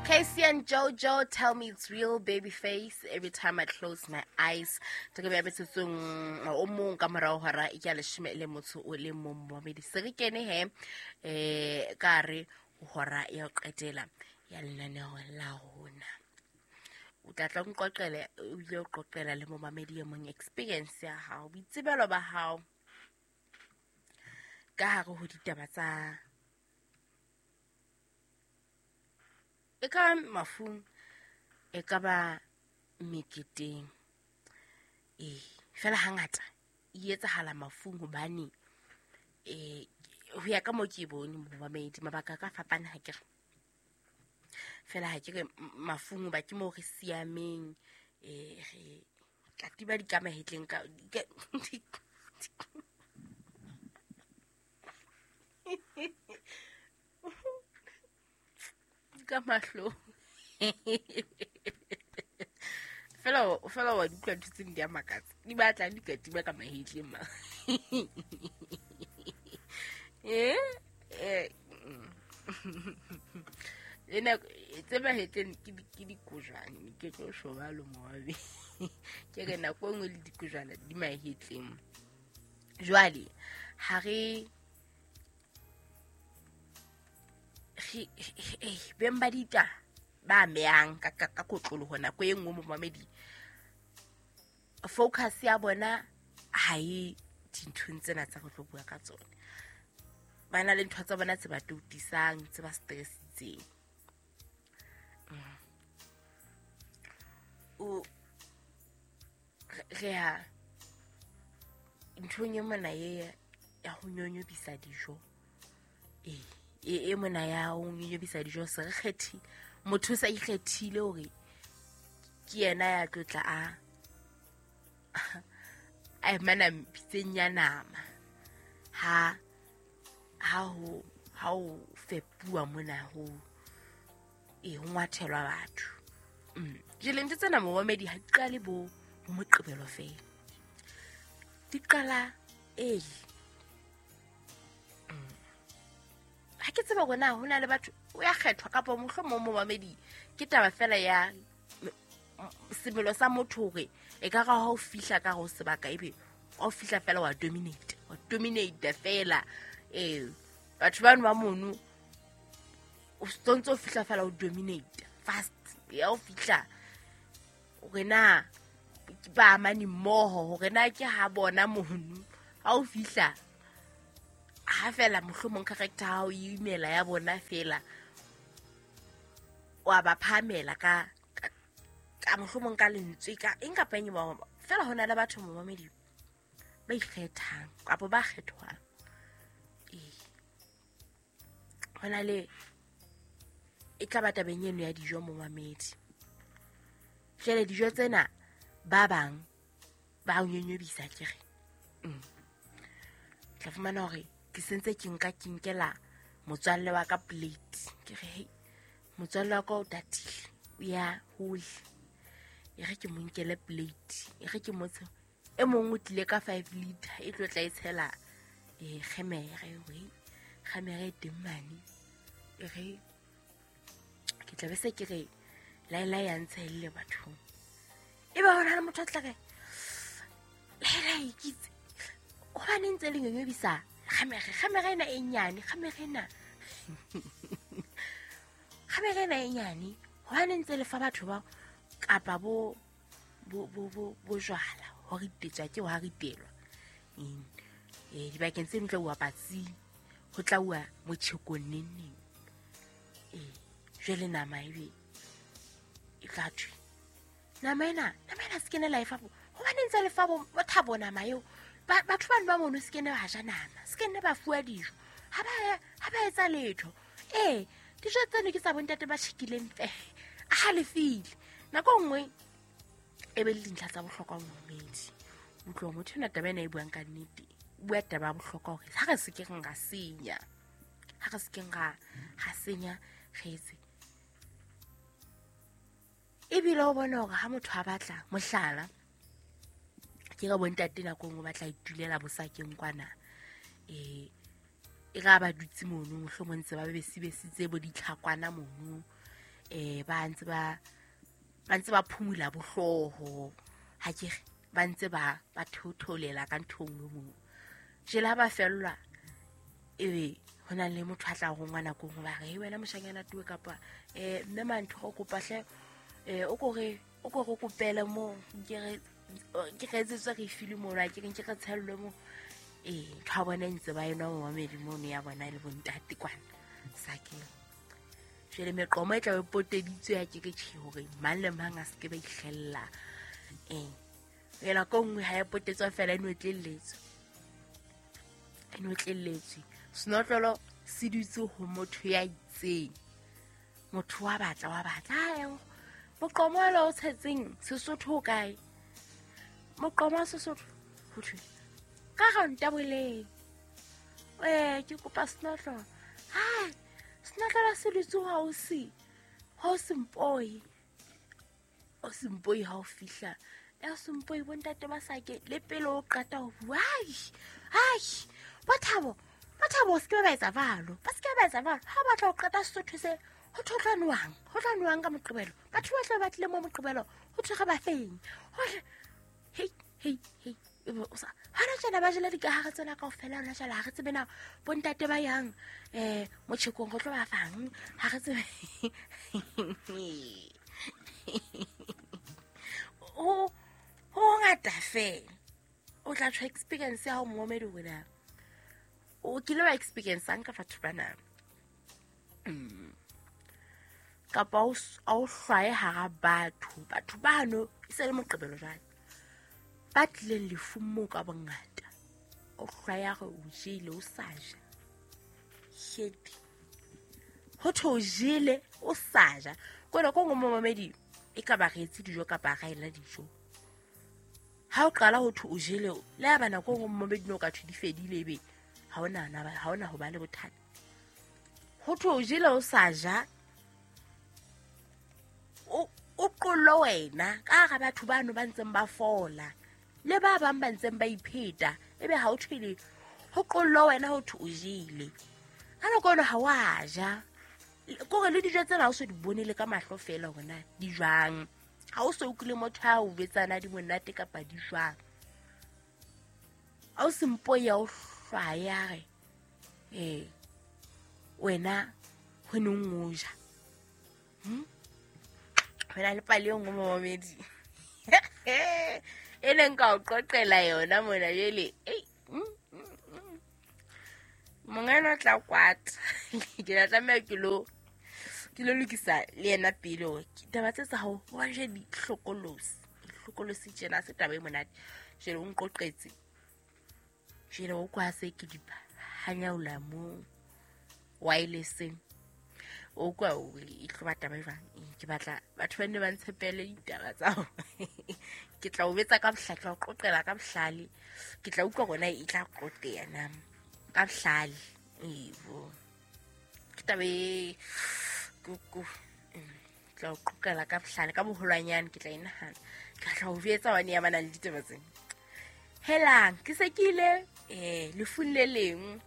K-Ci and JoJo, tell me it's real, baby face. Every time I close my eyes. Ke be metsotsong o mong ka morao hora ya leshome le motho o le mong momamedi. Se re kene he ka re hora ya ho qetela ya lenaneo la rona. O tla tla nqoqele o ile o qoqela le momamedi e mong experience ya hao, boitsebelo ba hao ka hare ho ditaba tsa e ka mafung, e ka ba meketeng. Fela hangata e etsahala mafung hobane ho ya ka moo ke e bone momamedi, mabaka a ka fapana ha ke re. Fela ha ke re mafung hoba ke moo re siameng, re katiba di ka mahetleng ka ka mahlong. Fela fela wa di utlwa ntho tse di a makatsa, di batla di katiba ka mahetleng ma. Le nako tse mahetleng ke dikojwane, ke tlo shoba lo moabe. Ke re nako e nngwe le dikojwana di mahetleng. Jwale ha re beng ba dita ba amehang ka kotloloho nako e nngwe momamedi, focus ya bona ha e dinthong tsena tsa go tlo bua ka tsona. Ba na le ntho tsa bona tse ba toutisang, tse ba stressitseng. O re ya nthong e mona e ya ho nyonyobisa dijo. E mona ya ho nyonyobisa dijo se re kgethi, motho sa ikgethile hore ke yena ya tlotla a mana pitseng ya nama ha ho fepuwa mona ho ho ngwathelwa batho. Jwale ntho tsena momamedi ha di qale bo Moqebelo fela, di qala early. Ha ke tseba hore na ho na le batho o ya kgethwa kapa mohlomong momamedi ke taba fela ya semelo sa motho hore e ka ra ha o fihla ka ho sebaka ebe o fihla fela wa dominate fela. Batho bano ba mono o ntso o fihla fela o dominate fast ya o fihla hore na ba amane mmoho, hore na ke ha bona mono ha o fihla ha fela mohlomong character ha o imela ya bona fela wa ba phamela ka mohlomong ka lentswe ka eng kapa eng ba fela. Ho na le batho momamedi ba ikgethang kapa ba kgethwang. Ho na le e tla ba tabeng eno ya dijo momamedi. Jwale dijo tsena ba bang ba o nyonyobisa ke re. Tla fumana hore ke sentse ke nka ke nkela motswalle wa ka plate. Ke re hey, motswalle wa ka o tatile, o ya hole, e re ke mo nkele plate, e re ke motshe e mong o tlile ka 5 liter e tlo tla e tshela kgemere, we kgemere e teng mane. E re ke tla be se ke re laela ya ntshelle bathong. E ba hona le motho a tla re laela e kitse hobane ntse le nyonyobisa kgemere ena e nyane, kgemere ena e nyane hobane ntse le fa batho ba kapa bo jwala ho ritetswa ke wa ritelwa. Dibakeng tse ntlo wa patsi ho tla uwa motjhekong neng. Jwale nama ebe e tla thwe nama ena se kene la e fa bo hobane ntse le fa bo thabo nama eo. Batho bano ba mono se kene ba ja nama, se kene ba fuwa dijo, ha ba etsa letho. Dijo tseno ke tsa bontate ba tjhekileng fe a halefile. Nako nngwe e be le dintlha tsa bohlokwa momamedi. Utlwa motho ena taba ena e buang ka nnete, o bua taba ya bohlokwa hore ha re se ke ra senya, ha re se ke ra senya re etse. Ebile o bona hore ha motho a batla mohlala ke ka bontate nako nngwe ba tla itulela bosakeng kwana, e ra ba dutse mono mohlomong ntse ba besibesitse bo ditlhakwana mono. Ba ntse ba phumula bohlooho ha ke re ba ntse ba theotholela ka ntho nngwe moo. Jele ha ba fellwa ebe ho na le motho a tla rongwa nako nngwe ba re he wena moshanyana tuwe kapa mme mantho o kopa hle o ko re kopele mo ke re etsetswe re file mono a ke re nke re tshellwe mo. Ntho ya bona ntse ba enwa momamedi mono ya bona le bontate kwana sakeng. Jwale meqomo e tla be poteditswe ya ke ke tjhe hore mang le mang a se ke ba ihlella. Ela ko nngwe ha e potetswa fela e notlelletswe. E notlelletswe. Senotlolo se dutse ho motho ya itseng. Motho wa batla. Moqomo o tshetseng Sesotho o kae? Moqomo wa Sesotho ho thwe ka ranta boleng. Ke kopa senotlolo. Hai, senotlolo se dutse ha o se mpoi. O se mpoi ha o fihla. Ya sempoi bontate ba sake le pele o qeta ho bua. Ai, Bothabo se ke ba etsa valo. Ba se ke ba etsa valo. Ha batla ho qeta Sesotho se ho tla nwang ka Moqebelo. Batho ba tla ba tlile mo Moqebelo ho thwe re ba feng. Hei o sa hona tjena ba jela dikahare tsena kaofela hona jwale ha re tsebe na bontate ba yang motjhekong go tlo ba fang ha re tsebe. Ho ngata fela. O tla tshwa experience ya ho momedi wena. O kile wa experience ka batho bana. Kapa o hlwaye hara batho. Batho bano e se le Moqebelo jwale. Ba tlileng lefung moo ka bongata. O hlwaya hore o jele o sa ja. Shit. Ho thwe o jele o sa ja. Kona ko ngwe momedi e ka ba re etse dijo kapa ra ela dijo. Ha o qala ho thwe o jele le ha bana ko ngwe momedi no ka thwe di fedile ebe ha ona ho ba le bothata. Ho thwe o jele o sa ja. O qollo wena ka hara batho bano ba ntseng ba fola. Le ba bang ba ntseng ba ipheta ebe ha o thwele ho qollo wena ho thwe o jele. Ka nako eno ha wa ja. Kore le dijo tsena ha o so di bone le ka mahlo fela hore na di jwang. Ha o so utlwile motho a o betsana di monate kapa di jwang. Ha o sempo ya o hlwaya re wena ho neng o ja. Wena le pale e nngwe momamedi. E neng ka o qoqela yona mona jele. Mongana o tla kwata. Ke tla tlameha ke lo lokisa le yena pele hore taba tse tsa hao wa je di hlokolosi. Hlokolosi tjena se taba e monate. Jele o nqoqetse. Jele o kwa se ke di hanyaola mo wirelesseng. O kwa o e tlo taba e jwang. Ke batla batho ba nne ba ntshepele ditaba tsa hao. Ke tla o betsa ka bohlale, tla o qoqela ka bohlale. Ke tla utlwa rona e tla qoqeya na ka bohlale. Ebo. Ke taba e kuku. Tla o qoqela ka bohlale ka boholwanyane ke tla e nahana. Ke tla o betsa wane ya bana le ditaba tsena. Helang, ke se ke ile lefung le leng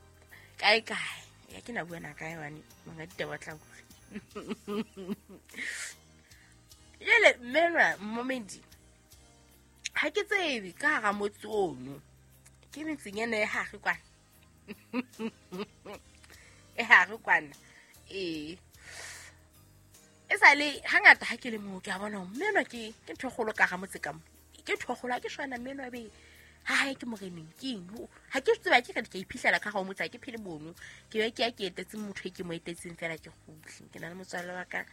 kae kae. Ya ke na bua na kae wane monga ditaba tla utlwa. Jele mmenwa momedi ha ke tsebe ka hara motse ono ke metseng ena e hare kwana. E hare kwana. E sale hangata ha ke le moo ke a bona mmenwa ke ntho e kgolo ka hara motse ka mo. Ke ntho e kgolo ha ke shwana mmenwa be ha hae ke moreneng ke eng. Ha ke tseba ke re ke iphihlela ka hara motse ha ke phele mono. Ke be ke ya ke etetse motho e ke mo etetseng fela ke kgutle. Ke na le motswalle wa ka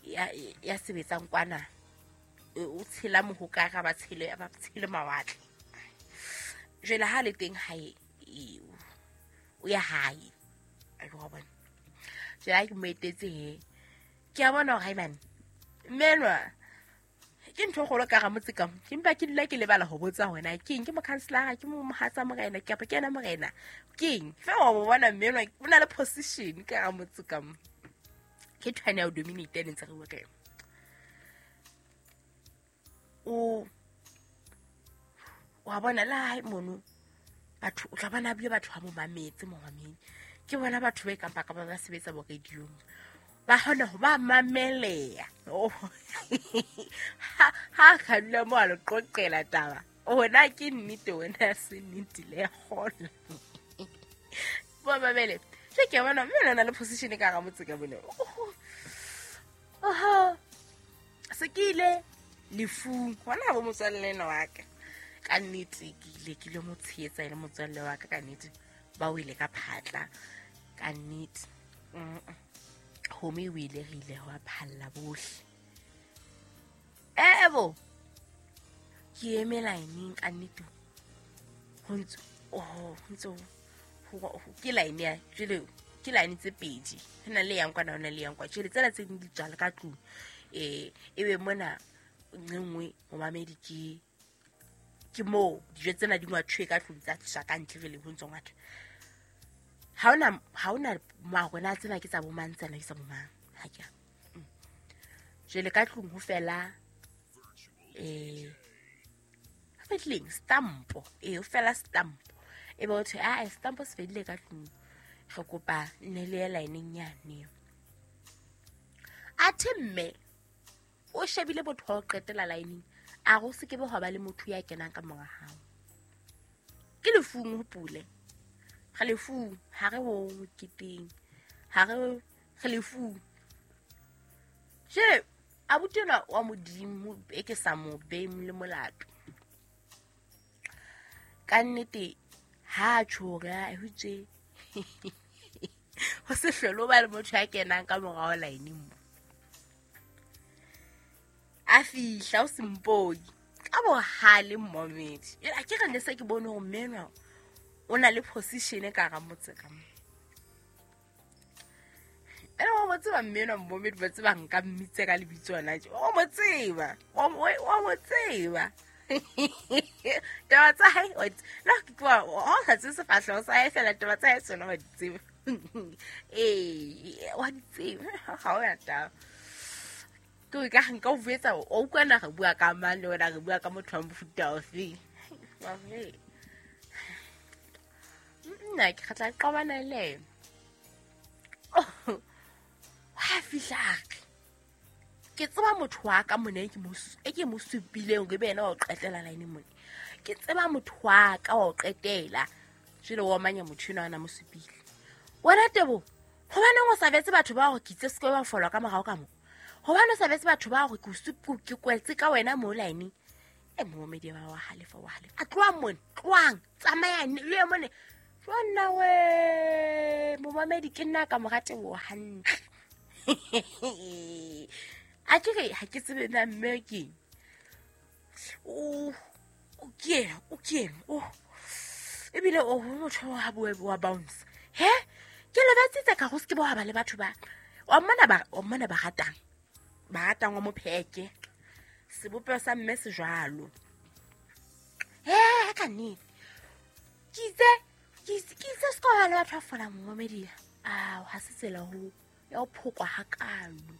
ya sebetsang kwana. O tshela mohokara ba tshele mawatle. Jwale ha le teng hae o ya hae. A lo bona. Jwale ha ke mo etetse he. Ke a bona hore hai man. Mmenwa ke ntho e kgolo ka hara motse ka mo. Ke mpa ke dula ke lebala ho botsa hona ke eng, ke mokhanselara, ke mo mohatsa morena, kapa ke yena morena. Ke eng? Fe wa bona mmenwa o na le position ka hara motse ka mo. Ke thwane ya ho dominate ne ntse re bua ka yona. O wa bona la hae mono batho o tla bona bile batho ha mo mametse mo mamedi. Ke bona batho ba kapa ka ba sebetsa bo radiong. Ba kgona ho ba mameleya. Ha ka dula mo a le qoqela taba. Ona ke nnete, ona se nnete le kgola. Ba mamele. Ke ke bona mme lona le position ka ga motse ka bone. Oho. Se ke ile lefung hona bo motswalle ena wa ka. Ka nnete ke ile ke lo mo tshehetsa e le motswalle wa ka, ka nnete ba o ile ka phatla ka nnete. Home o ile re ile wa phalla bohle. Ebo ke eme line ka nnete. Ho ntse ho ke line ya jwale ke line tse pedi. Ho na le yang kwana, ho na le yang kwa. Jwale tsena tse ding di tswala ka tlung. Ebe mona nngwe momamedi ke moo dijo tsena di ngwathwe ka tlung tsa tliswa ka ntle jwale ho ntso ngwathwa. Ha ona marona tsena ke tsa bo mang, tsena ke tsa bo mang. Ha ke. Jwale ka tlung ho fela fedileng stampo. Ho fela stampo. E be ho thwe a stampo se fedile ka tlung. Re kopa nne le ye line-eng yane. Athe mme o shebile motho wa ho qetela line-eng, a re o se ke be hwa ba le motho ya kenang ka mora hao. Ke lefung ho pule. Re lefung, ha re ho moketeng. Ha re lefung. Jwale abuti enwa wa Modimo e ke sa mo behe le molato. Ka nnete ha tjho hore a hutse ho se hlole o ba le motho ya kenang ka morao line mo. A fihla o sempoi ka bohale mmomedi. A ke re ne se ke bone hore mme enwa o na le position ka hara motse ka mo. Ene wa mo tseba mme enwa mmomedi, ba tseba nka mmitse ka lebitso hona tje. Wa mo tseba. Wa mo tseba. Taba tsa hae, la ke tloha, ha o sa tsebe sefahleho sa hae fela, taba tsa hae tsona wa di tseba. Wa di tseba. Ha o ya taba. Ke ka nka o buetsa, o utlwa na re bua ka mang le wena re bua ka motho wa mofuta ofe. Nna ke tla qabana le yena. Ha fihla a re, ke tseba motho wa ka mona e ke mo supileng hore ebe yena wa ho qetela line mona. Ke tseba motho wa ka wa ho qetela. Jwale wa omanya motho enwa a na mo supile. Wena Tebo, hobaneng o sa betse batho ba hore ke itse se ke ba folwa ka morao ka mo? Hobane o sa betse batho ba hore ke kwetse ka wena mo line. E momedi ba wa halefa, wa halefa. A tlohang mona, tlohang, tsamayang le ye mone. Jonna we, momamedi ke nna ka mora Tebo hantle. A ke re ha ke tsebe na mme ke. O ke o. Ebile o motho wa bua wa bounce. He? Ke le betsitse ka go se ke bo ba le batho ba. Wa mmona ba ratang. Ba ratang wa mopheke. Sebopeho sa mme se jwalo. He ka nnete. Ke itse se ka ba le batho ba folang momamedi. Ah, ha se tsela ho ya ho phokwa hakalo.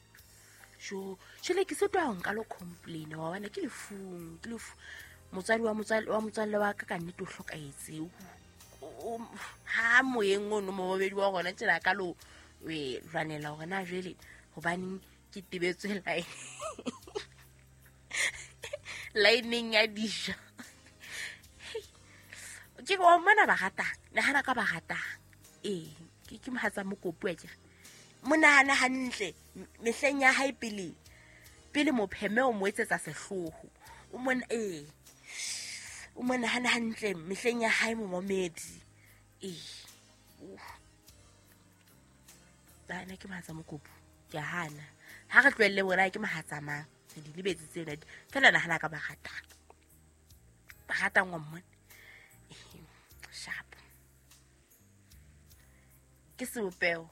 Jo, jwale ke sotwa ho nka lo complain wa bona ke lefung, ke lefu. Motswadi wa motswalle wa ka ka nnete o hlokahetse. Ha moyeng ono momamedi wa rona tjena ka lo lwanela hore na jwale hobaneng ke tebetswe line. Line ya dijo. Ke wa mona ba ratang, nahana ka ba ratang. Ke mohatsa mokopu a ke. Mo nahana hantle mehleng ya hae pele. Pele mopheme o mo etsetsa sehloho. O mona o mo nahana hantle mehleng ya hae momamedi. Bana ke mohatsa mokopu. Ke hana. Ha re tlohelle bona ke mohatsa mang. Re di lebetse tsena. Fela nahana ka ba ratang. Ba ratang wa mmona. Sharp. Ke sebopeho.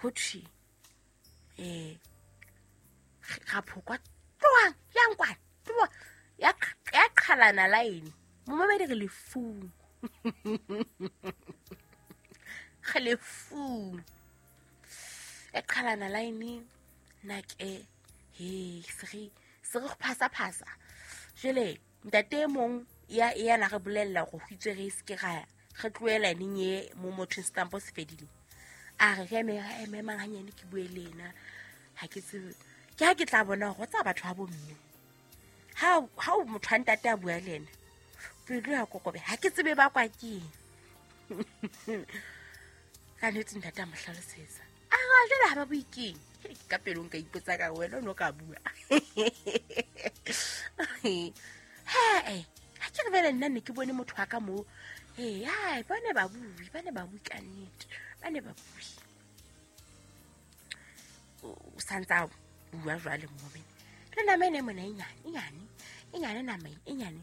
Ho thwe ga phokwa tloang yang kwana tloa ya qhalana line momamedi re lefung. Re lefung e qhalana line na ke he se re phasa jwale ntate mong ya na re bolella go hwitswe re se ke ra re tlohela line e mo motho stampo se fedile. A re re eme mang hanyane ke bue le yena. Ha ke tsebe. Ke ha ke tla bona hore tsa batho ba bomme. Ha o motho a ntate a bua le yena. Pelo ya kokobe. Ha ke tsebe ba kwa ke. Ka nnete ntate a mo hlalosetsa. A re jwale ha ba bue keng? Ka pelong ka ipotsa ka wena o no ka bua. He, ha ke re vele nna ne ke bone motho wa ka moo. Ee, hai, ba ne ba bue ka nnete. Ba ne ba bue. O santsa bua jwale momene. Le nama ene mona e nyane nama e nyane.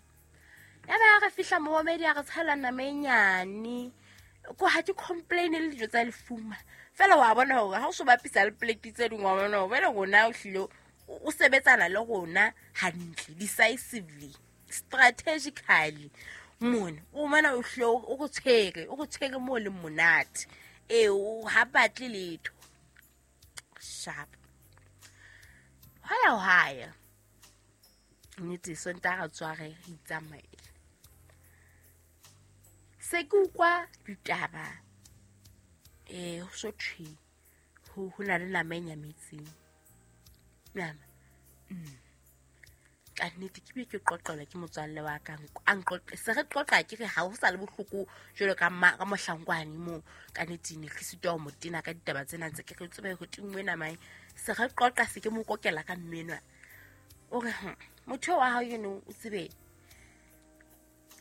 Ya ba re fihla momedi a re tshela nama e nyane. Ko ha ke complain le dijo tsa lefuma. Fela wa bona hore ha o so bapisa le plate tse dingwe wa bona hore wena rona o hlile o sebetsana le rona hantle, decisively, strategically. Mona o mana o hlile o go tshwere mo le monate. E o ha batle letho. Sharp. Haya. Nnete Sontaha re tswa re itsamaela. Se ke utlwa ditaba ho so thwe ho na le nama e nyametseng. Nama. Ka nnete ke be ke qoqelwa ke motswalle wa ka a nqoqe. Se re qoqa ke re ha ho sa le bohloko jwalo ka mohlankwane moo ka nnete ne ke sitwa ho mo tena ka ditaba tsena ntse ke re tsebe ho tingwe nama e. Se re qoqa se ke mo kokela ka mmenwa. O re motho wa hao eno o tsebe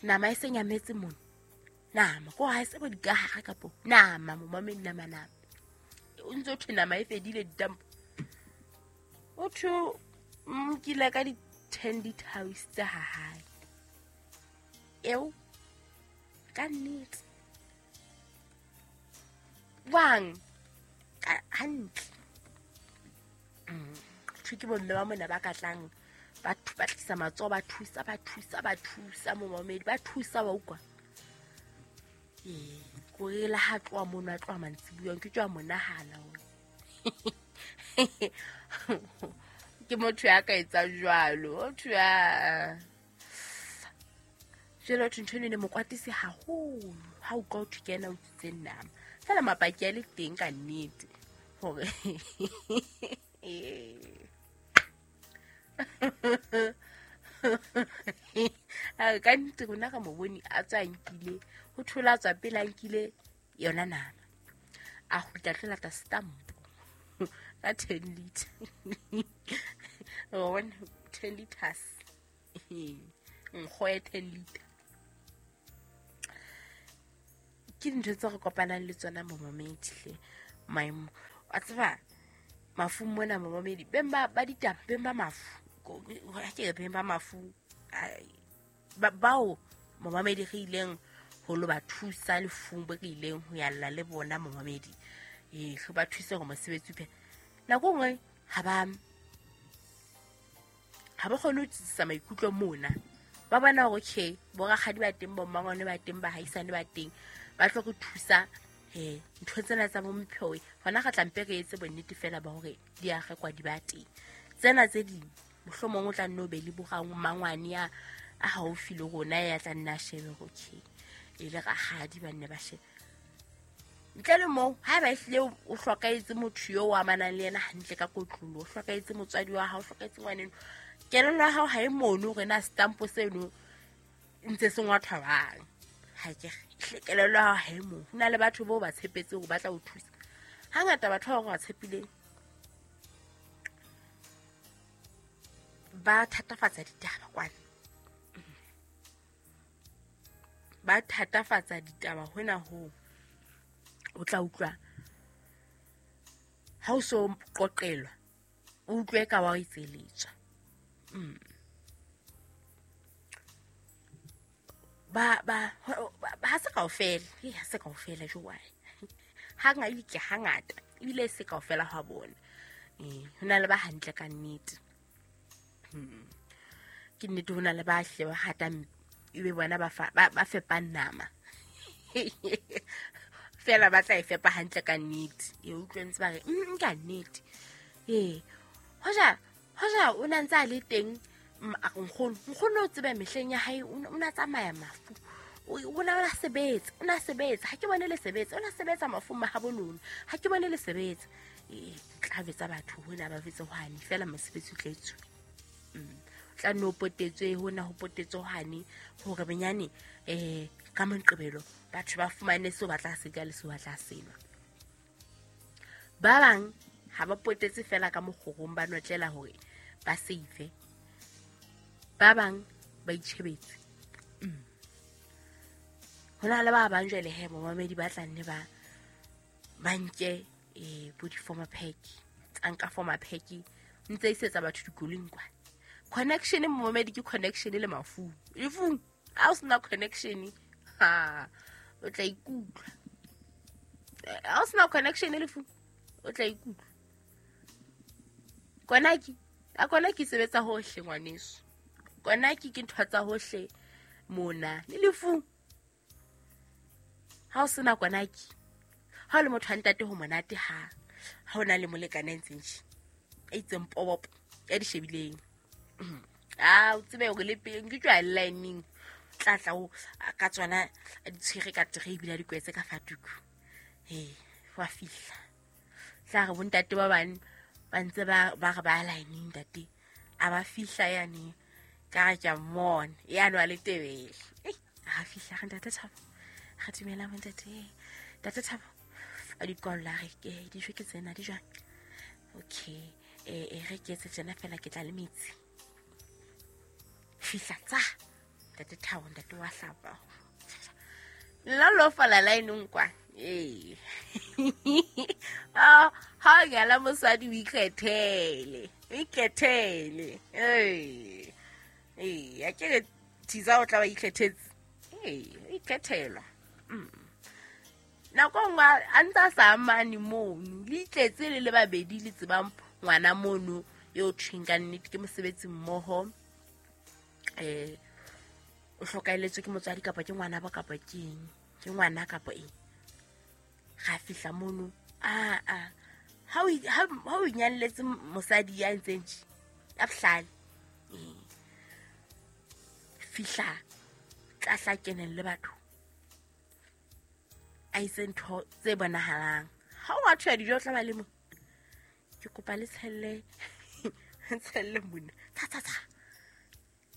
nama e se nyametse mona. Nama ko ha se bo dikahare kapo nama momamedi nama. O ntse o thwe nama e fedile ditampo. O thwe nkile ka di 10 liters tsa hae. Eo ka nnete. Wang ka hantle. Thwe ke bomme ba mona ba ka tlang ba tlisa matsoho ba thusa momamedi ba thusa wa utlwa. Ko re la ha tloha mono a tloha mantsibuya ke tswa monahana o. Ke motho ya ka etsa jwalo, motho ya jwalo ntho eno ne mo kwatise haholo ha o utlwa ho thwe ke yena o utswitse nama. Fela mapaki a le teng ka nnete hore ka nnete rona re mo bone a tswa nkile ho thola tswa pele a nkile yona nama. A kgutla tlo lata stamp ka 10 liter. O 10 liters. Nkgo ya 10 liter. Ke dintho tse re kopanang le tsona momamedi hle. Maemo a tseba mafu mona momamedi beng ba ditaba beng ba mafu. Ha ke re beng ba mafu bao momamedi re ileng ho lo ba thusa lefung bo re ileng ho yalla le bona momamedi. Re ba thuse hore mosebetsi phe. Nako nngwe ha ba kgone ho tsitsisa maikutlo mona. Ba bona hore okay, bo rakgadi ba teng, bo mmangwane ba teng, ba haisane ba teng, ba tlo re thusa ntho tsena tsa bo mpheo. Hona re tla mpe re etse bonnete fela ba hore di a rekwa di ba teng. Tsena tse ding mohlomong o tla nno be le bo mmangwane ya a haufi le rona ya tla nna shebe hore okay, e le rakgadi ba nne ba shebe. Ntle le moo, haeba ehlile o hlokaetse motho yo o amanang le yena hantle ka kotlolo, o hlokaetse motswadi wa hao, o hlokaetse ngwaneno, kelello ya hao ha e mono hore na stampo seno ntse se ngwathwa bang. Ha ke re kelello ya hao ha e mono. Ho na le batho bao ba tshepetse hore ba tla o thusa. Hangata batho bao ba tshepileng ba thatafatsa ditaba kwana. Ba thatafatsa ditaba hona ho o tla utlwa ha o so qoqelwa o utlwe ka wa itseletswa. Ba ha se kaofela, ha se kaofela jwale. Hangata ke hangata ebile se kaofela ha bona. Ho na le ba hantle ka nnete. Ke nnete ho na le ba hle ba hatang ebe bona ba fepang nama. Fela ba tla e fepa hantle ka nnete. E utlwe ntse ba re ka nnete. Hoja o na ntse a le teng nkgono o tsebe mehleng ya hae o na tsamaya mafu. O na sebetsa, o na sebetsa, ha ke bone le sebetsa, o na sebetsa mafung mahabo lona, ha ke bone le sebetsa. Tla betsa batho hona ba betse hwane fela mosebetsi o tla etsuwa. Tla no potetswe hona ho potetswe hwane hore benyane ka Moqebelo batho ba fumane seo ba tla se ja le seo ba tla se nwa. Ba bang ha ba potetse fela ka mokgorong ba notlela hore ba save. Ba bang ba itjhebetse. Hona le ba bang jwale he momamedi ba tla nne ba nke bo di-former pack, tsa nka former pack ntse isetsa batho dikoloing kwa. Connection momamedi ke connection le mafung. Lefung ha o sena connection, ha o tla ikutlwa. Ha o sena connection lefung, o tla ikutlwa. Konaki, a konaki sebetsa hohle ngwaneso. Konaki ke ntho tsa hohle mona le lefung. Ha o sena konaki, ha o le motho wa ntate ho monate ha o na le molekane a ntseng tje, a itseng pobopo ya di shebileng. A o tsebe hore le pele ke tswa line tla tla o ka tsona a di tshwere ka tray ebile a di kwetse ka fatuku. Wa fihla. Tla re bontate ba bang ba ntse ba re ba line ntate. A ba fihla yane ka re ke a mmona yane wa le Tebele. A fihla re ntate Thabo. Re dumela bontate. Ntate Thabo a di kwalla re ke dijo ke tsena di jwang. Okay, re ke etse tjena fela ke tla le metsi. Fihla tsa ntate Thabo ntate wa hlapa. Nna lo fala line kwa. Ha ngala mosadi o ikgethele. O ikgethele. A ke re thiza o tla ba ikgethetse. O ikgethelwa. Nako nngwe a ntse a sa amane mono, le itletse le le babedi le tsebang ngwana mono eo thweng ka nnete ke mosebetsi mmoho. O hlokaeletswe ke motswadi kapa ke ngwana ba kapa ke eng, ke ngwana kapa eng. Ga fihla mono, ha o inyalletse mosadi ya ntseng tje, ya bohlale. Fihla tla hla keneng le batho. A itse ntho tse bonahalang. Ha o a thwa dijo tla ba le mo. Ke kopa le tshelle, tshelle mona. Tsa tsa tsa.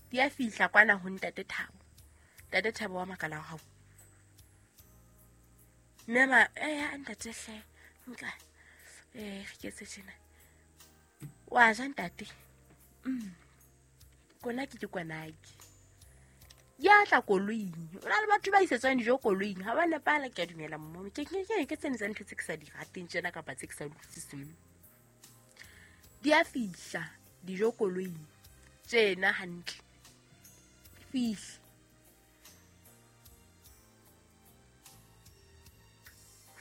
Di a fihla kwana ho ntate Thabo. Ntate Thabo wa makala hao. Mme ma ntate hle nka re ke etse tjena. Wa ja ntate. Kona ke kwanaki. Ya tla koloing. O na le batho ba isetswang dijo koloing. Ha ba nepala ke a dumela mmomo. Ke tsene tsa ntho tse ke sa di rateng tjena kapa tse ke sa di utlwisiseng. Di a fihla dijo koloing. Tjena hantle. Fihla.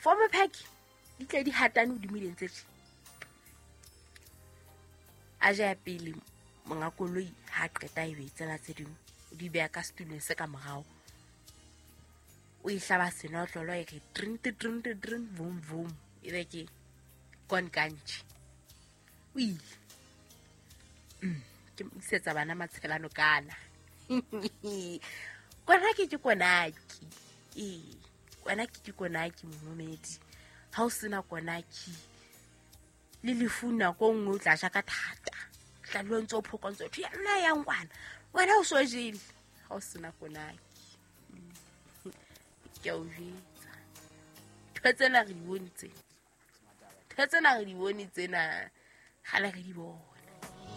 Former pack di tle di hatane hodimo di ntse tje. A ja pele monga koloi ha qeta e be tsena tse ding. O di beha ka setulong se ka morao. O e hlaba senotlolo e re drink drink drink vum vum. E be ke kon kantši. O ile. Ke isetsa bana matshelano kana. Kona ke konaki. Kona ke konaki momedi. Ha o sena konaki le lefu nako nngwe o tla ja ka thata. Tla lo ntse o phokontse o ya nna ya ngwana. Wena o so jele. Ha o sena konaki. Ke o jwetsa. Ntho tsena re di bone tse. Ntho tsena re di bone tsena. Kgale re di bone.